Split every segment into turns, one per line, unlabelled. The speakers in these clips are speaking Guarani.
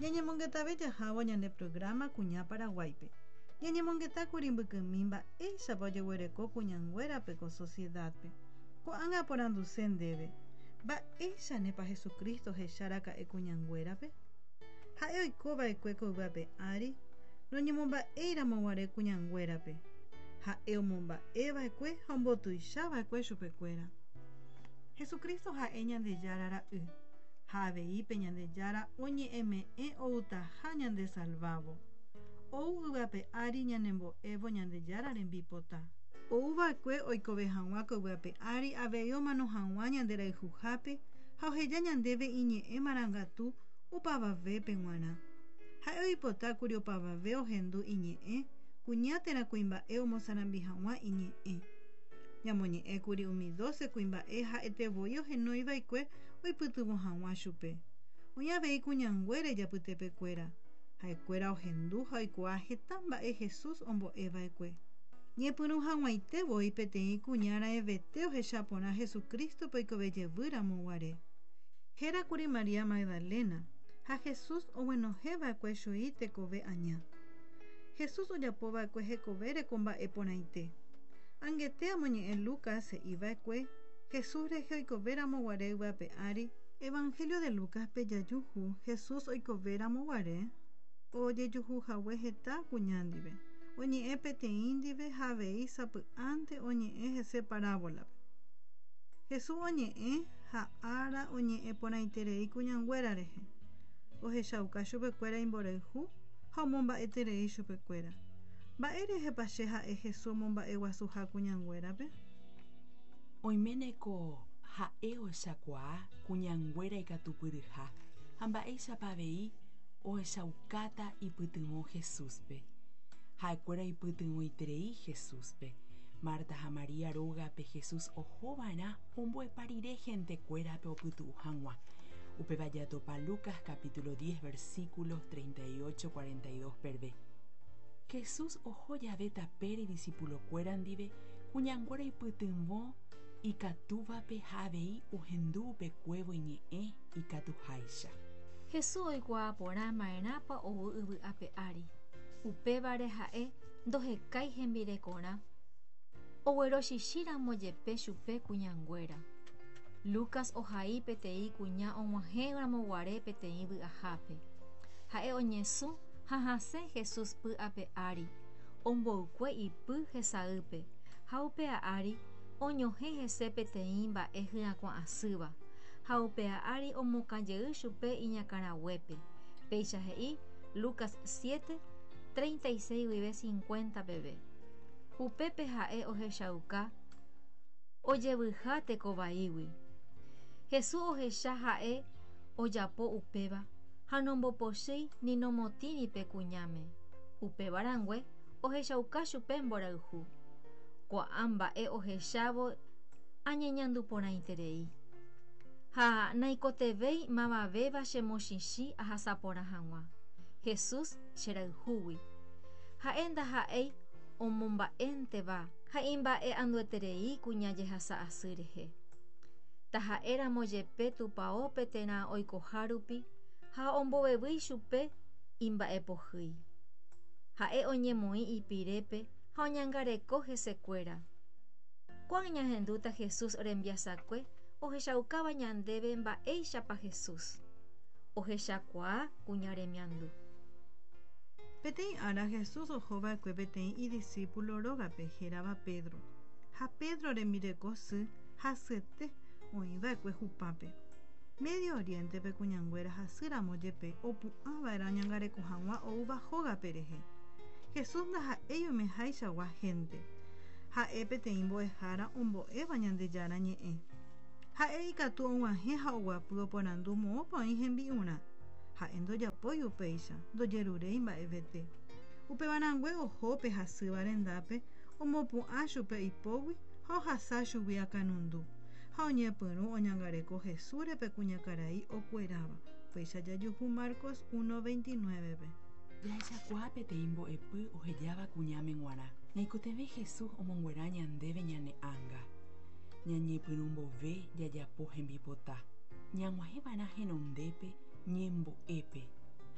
Ñañemongetave jahávo ñane programa Kuña Paraguáipe. Ñañemongetákuri mbykymi mba'éichapa ojeguereko kuñanguérape ko sociedad-pe. Ko'ág̃a aporanduse ndéve, Mba'éichanepa Jesucristo ohecha raka'e kuñanguérape? Ha'e oikova'ekue ko yvy ape ári noñemomba'éiramo guare kuñanguérape. Ha'e omomba'eva'ekue ha ombotuichava'ekue chupekuéra. Jesucristo ha'e Ñandejára Ra'y, ha avei pe Ñandejára oñe'ẽme'ẽ outaha ñandesalvávo. Ou yvy ape ári ñanembo'évo Ñandejára rembipota. Ouva'ekue oikove hag̃ua ko yvy ape ári avei omano hag̃ua ñande rayhuhápe ha oheja ñandéve iñe'ẽ marangatu opavavépe g̃uarã. Ha'e oipotákuri opavave ohendu iñe'ẽ, kuña térã kuimba'e omosarambi hag̃ua iñe'ẽ. Ñamoñe'ẽkuri umi dóse kuimba'e ha'ete voi ohenoiva'ekue oipytyvõ hag̃ua chupe. Oĩ avei kuñanguéra ijapytepekuéra. Ha'ekuéra ohendu ha oikuaa heta mba'e Jesús ombo'eva'ekue. Ñepyrũ hag̃uaite voi peteĩ kuña raẽvete ohecha porã Jesucrístope oikove jevy ramo guare. Héra kuri María Magdalena, ha Jesús oguenohẽ va'ekue chui tekove aña. Jesús ojapo va'ekue hekovére ko mba'e porãite. Angete amoñe'ẽ Lucas he'i va'ekue Jesús rehe oikove ramo guare yvy ape ári, Evangelio de Lucas-pe jajuhu Jesús oikove ramo guare ojejuhu hague heta kuña ndive, oñe'ẽ peteĩ ndive ha avei sapy'ánte oñe'ẽ hese parábola-pe. Jesús oñe'ẽ ha ára oñe'ẽ porãiterei kuñanguéra rehe. Ohechauka chupekuéra imborayhu ha omomba'eterei chupekuéra. Mba'e rehepa che ha'e Jesús omomba'eguasuha kuñanguérape?
Oiméne ko ha'e ohechakuaa kuñanguéra ikatupyryha ha mba'éichapa avei ohechaukáta ipytyvõ Jesúspe. Ha'ekuéra oipytyvõiterei Jesúspe. Marta ha María rógape Jesús oho va'erã ombo'epa rire hentekuérape opytu'u hag̃ua. Upéva jatopa Lucas capítulo 10 versículos 38, 42 peve. Jesús oho jave tapére idisipulokuéra ndive, kuñanguéra oipytyvõ ikatúvape ha avei ohendu upekuévo iñe'ẽ ikatuháicha.
Jesús oikuaa porã ma'erãpa ou yvy ape ári. Upévare ha'e ndohekái hembirekorã, oguerochichĩramo jepe chupe kuñanguéra. Lucas ohai peteĩ kuña og̃uahẽramo guare peteĩ vy'ahápe. Ha'e oñesũ ha hasẽ Jesús py ape ári, omboykue ipy hesaýpe, ha upéa ári oñohẽ hese peteĩ mba'e hyakuã asýva, ha upéa ári omokã jey chupe iñakãraguépe. Péicha he'i Lucas 7, 36 guive 50 peve. Upépe ha'e ohechauka ojevyha tekovaígui. Jesús ohecha ha'e ojapo upéva ha nombopochýi ni nomotĩri pe kuñáme. Upéva rangue ohechauka chupe mborayhu. Ko'ã mba'e ohechávo añeñandu porãiterei. Ha naikotevẽi mavavéva chemochichĩ ahasa porã hag̃ua. Jesús cherayhúgui. Ha'e ndaha'éi omomba'énteva ha imba'e'andueterei kuña jehasa asy rehe. Taha'éramo jepe tupaópe térã oikoha rupi ha ombovevýi chupe imba'epohýi. Ha'e oñemoĩ ipirépe ha oñangareko hesekuéra. Ko'ág̃a ñahendúta Jesús rembiasakue ohechaukáva ñandéve mba'éichapa Jesús ohechakuaa kuña remiandu.
Peteĩ ára Jesús oho va'ekue peteĩ idisípulo rógape hérava Pedro. Ha Pedro rembireko sy hasyete oĩ va'ekue hupápe. Medio Oriéntepe kuñanguéra hasýramo jepe opu'ã va'erã oñangareko hag̃ua oúva hógape rehe. Jesús ndaha'éi oimehaichagua hénte. Ha'e peteĩ mbo'ehára ombo'éva Ñandejára Ñe'ẽ. Ha'e ikatu og̃uahẽ ha oguapy oporandu moõpa oĩ hembi'urã. Ha'e ndojapói upéicha, ndojeruréi mba'evete. Upevarãngue oho pe hasýva rendápe, omopu'ã chupe ipógui ha ohasa chugui akãnundu. Ha oñepyrũ oñangareko Jesúsre pe kuñakarai okueráva. Upéicha jajuhu Marcos 1:29-pe.
Jahechakuaa peteĩ mbo'epy ohejáva kuñáme g̃uarã. Ñaikotevẽ Jesús omonguera ñandéve ñane ánga. Ñañepyrũ mbove jajapo hembipota. Ñag̃uahẽ va'erã henondépe ñembo'épe.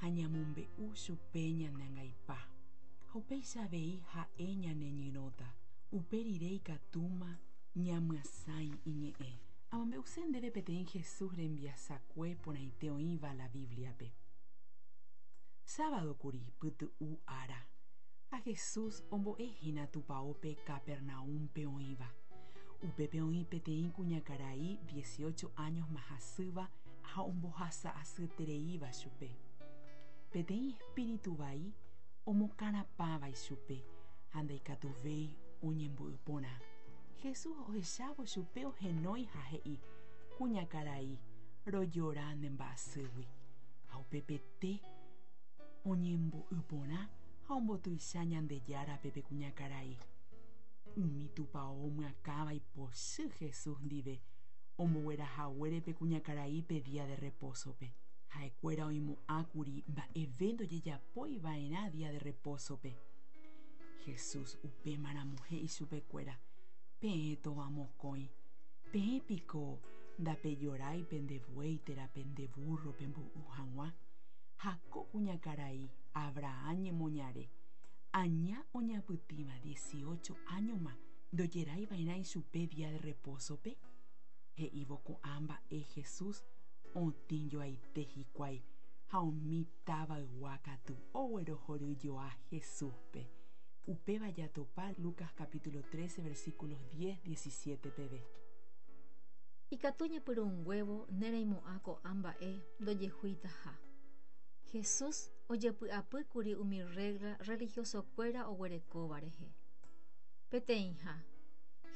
Ha ñamombe'u chupe ñane angaipa. Ha upéicha avei ha'e ñaneñyrõta. Upe rire ikatúma ñamyasãi iñe'ẽ. Amombe'use ndéve peteĩ Jesús rembiasakue porãite oĩva la Bíbliape. Sábado kuri pytu'u ára, ha Jesús ombo'e hína tupaópe Capernaúmpe oĩva. Upépe oĩ peteĩ kuñakarai 18 áñosma hasýva ha ombohasa asyetereíva chupe. Peteĩ espíritu vai omokarapãva ichupe ha ndaikatuvéi oñembo'y porã. Jesús ohechávo chupe ohenói ha he'i, Kuñakarai, rojora ne mba'asýgui. Ha upepete oñembo'y porã ha ombotuicha Ñandejárape pe kuñakarai. Umi tupao omyakãva ipochy Jesús ndive omboguerahaguére pe kuñakaraípe día de repósope. Ha'ekuéra oimo'ãkuri mba'eve ndojejapói va'erã día de repósope. Jesús upémaramo he'i chupekuéra, Peẽ tovamokõi, peẽ piko ndapejorái pende buey térã pende búrro pemboy'u hag̃ua? Ha ko kuñakarai Abraham ñemoñare, aña oñapytĩva 18 áñoma ndojerái va'erã ichupe día de repósope? He'ívo ko'ã mba'e Jesús otĩ joaite hikuái ha umi tavaygua katu oguerohoryjoa Jesúspe. Upéva jatopa Lucas capítulo 13 versículos 10, 17 peve.
Ikatu ñepyrũnguévo ne reimo'ã ko'ã mba'e ndojehuitaha. Jesús ojepy'apýkuri umi regla religiosokuéra oguerekóva rehe. Peteĩha,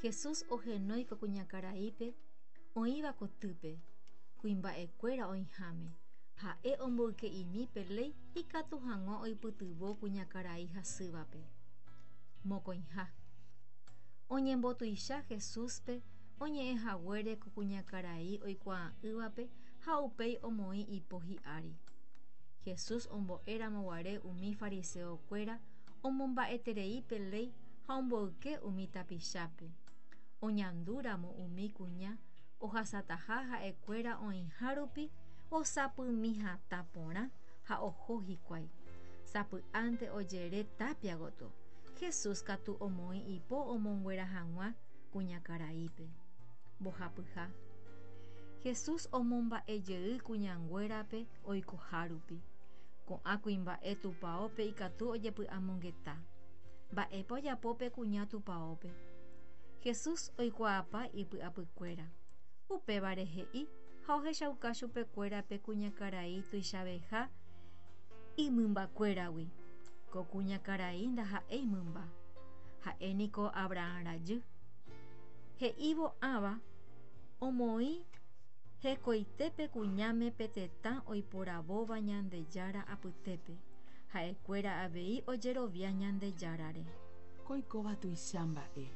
Jesús ohenói ko kuñakaraípe oĩva kotýpe, kuimba'ekuéra oĩháme, ha'e omboyke'imi pe léi ikatu hag̃ua oipytyvõ kuñakarai hasývape. Mokõiha, oñembotuicha Jesúspe oñe'ẽ haguére ko kuñakarai oikuaa'ỹvape ha upéi omoĩ ipo hi'ári. Jesús ombo'éramo guare umi fariseokuéra omomba'eterei pe léi ha omboyke umi tapichápe. Oñandúramo umi kuña ohasataha ha'ekuéra oĩha rupi osapymi hatã porã ha oho hikuái. Sapy'ánte ojere tapia gotyo. Jesús katu omoĩ ipo omonguera hag̃ua kuñakaraípe. Mbohapyha. Jesús omomba'ejey kuñanguérape oikoha rupi. Ko'ã kuimba'e tupaópe ikatu ojepy'amongeta. Mba'épa ojapo pe kuña tupaópe. Jesús oikuaapa ipy'apykuéra. Upévare he'i ha ohechauka chupekuéra pe kuñakarai tuichaveha imymbakuéragui. Ko kuñakarai ndaha'éi mymba. Ha'e niko Abraham rajy. He'ívo ãva omoĩ hekoitépe kuñáme pe tetã oiporavóva Ñandejára apytépe. Ha'ekuéra avei ojerovia Ñandejárare.
Ko oikóva tuicha mba'e.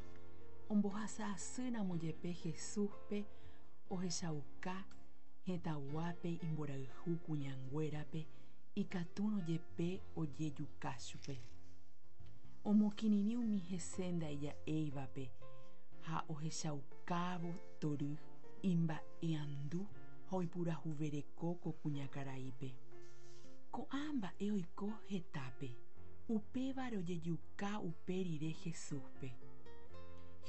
Ombohasa asýramo jepe Jesúspe ohechauka hetãguápe imborayhu kuñanguérape ikatúrõ jepe ojejuka chupe. Omokirirĩ umi hese ndaija'éivape ha ohechaukávo tory imba'eandu ha oipurahuvereko ko kuñakaraípe. Ko'ã mba'e oiko hetápe, upévare ojejuka upe rire Jesúspe.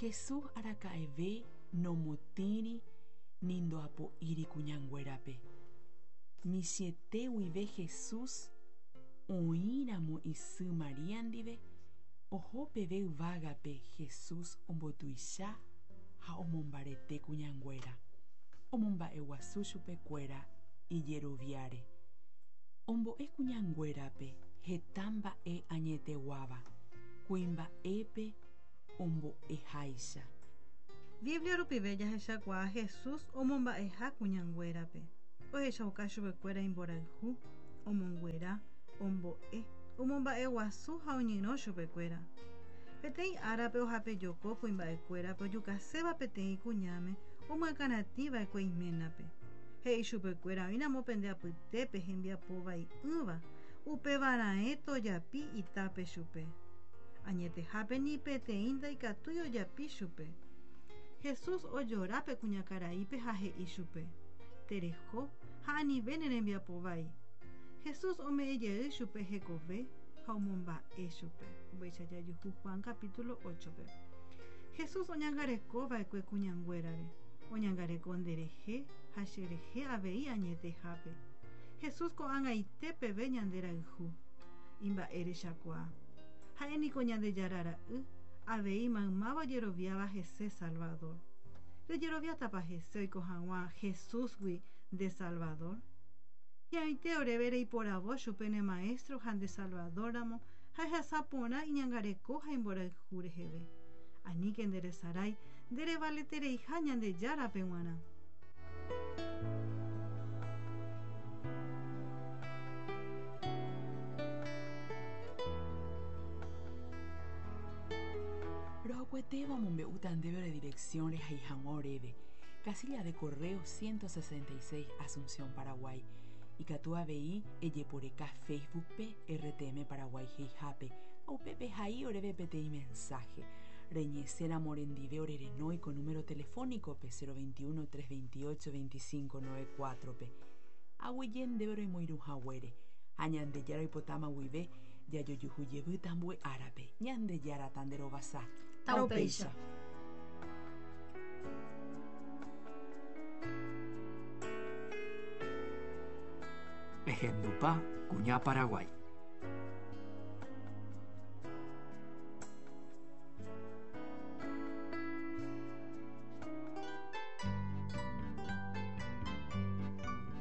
Jesús araka'eve nomotĩri ni ndoapo'íri kuñanguérape. Michĩete guive Jesús oĩramo isy María ndive oho peve yvágape Jesús ombotuicha ha omombarete kuñanguéra. Omomba'eguasu chupekuéra ijeroviáre. Ombo'e kuñanguérape heta mba'e añeteguáva, kuimba'épe ombo'eháicha.
Biblia rupive jahechakuaa Jesús omomba'eha kuñanguérape. Ohechauka chupekuéra imborayhu, omonguera, ombo'e, omomba'eguasu ha oñyrõ chupekuéra. Peteĩ árape ohapejoko kuimba'ekuérape ojukaséva peteĩ kuñáme omyakãratĩva'ekue iménape. He'i chupekuéra oĩramo pende apytépe hembiapovai'ỹva, upevarãe tojapi itápe chupe. Añetehápe ni peteĩ ndaikatúi ojapi chupe. Jesús ojora pe kuñakaraípe ha he'i chupe. Tereho ha anive ne rembiapovai. Jesús ome'ẽjey chupe hekove ha omomba'e chupe. Upéicha jajuhu Juan capítulo 8-pe. Jesús oñangarekova'ekue kuñanguérare, oñangareko nderehe ha cherehe avei añetehápe. Jesús ko'ag̃aite peve ñanderayhu, imba'erechakuaa. Ha'éniko Ñandejára ra'y, avei maymáva ojeroviáva hese Salvador. Rejeroviátapa hese oiko hag̃ua Jesúsgui nde Salvador? Hi'ãite oréve reiporavo chupe ne Maestro ha nde Salvador-ramo ha ehasa porã iñangareko ha imborayhu reheve. Aníke nderesarái nderevaletereiha Ñandejárape g̃uarã.
Rohokuetéva omombe'úta ndéve ore dirección rehai hag̃ua oréve, Casilla de Correo 166 Asunción, Paraguay. Ikatu avei ejeporeka Facebook-pe RTM Paraguay he'ihápe ha upépe ehai oréve peteĩ mensaje. Reñesẽramo orendive orerenói ko número telefónico-pe 021 328 2594-pe. Aguyje ndéve roimoirũ haguére ha Ñandejára oipotáma guive jajojuhu jevýta ambue árape. Ñandejára tanderovasa.
Taupéicha.
Ehendupa Kuña Paraguái.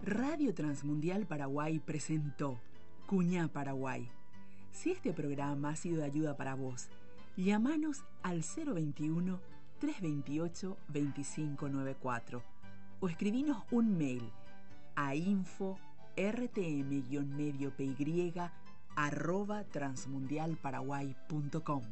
Radio Transmundial Paraguay presentó Cuñá Paraguay. Si este programa ha sido de ayuda para vos, llámanos al 021 328 2594 o escribinos un mail a info rtm-medio py arroba transmundialparaguay.com.